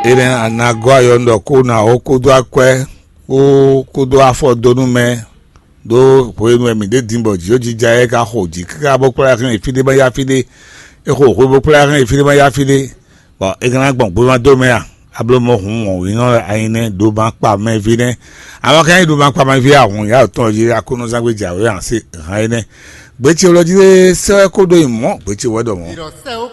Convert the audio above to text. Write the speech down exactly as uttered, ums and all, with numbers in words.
Énɛ́ a nǎ gɔ́ ayɔ nú ɖɔ kó ná ó kódó akwɛ́ kpó kódó afɔdónú mɛ ɖó hwenu e mǐ ɖe din bɔ jǐxɔ́jijɛ ɔ́ ka xo jǐ káká bó kplá hɛn yi fí ɖé ma yá fí ɖé. É xo hwe bó kplá hɛn yi fí ɖé ma yá fí ɖé. Bɔ é ka ná gbɔn gbéma dó mɛ a? A bló mɔ hǔn wɔ̌nwínɔ wɛ a nyí nɛ́, ɖo ma kpa mɛ ví nɛ́. Amɔ̌ ka nyí ɖo ma kpa mɛ ví a hǔn yá tɔn jí Aklúnɔzán gbé jǎwe a se hǎn énɛ́. Gběcewlɔ́ jí lé sɛ́ wɛ kó ɖó nyi mɔ̌, gběcewlɔ́ ɖɔ mɔ̌.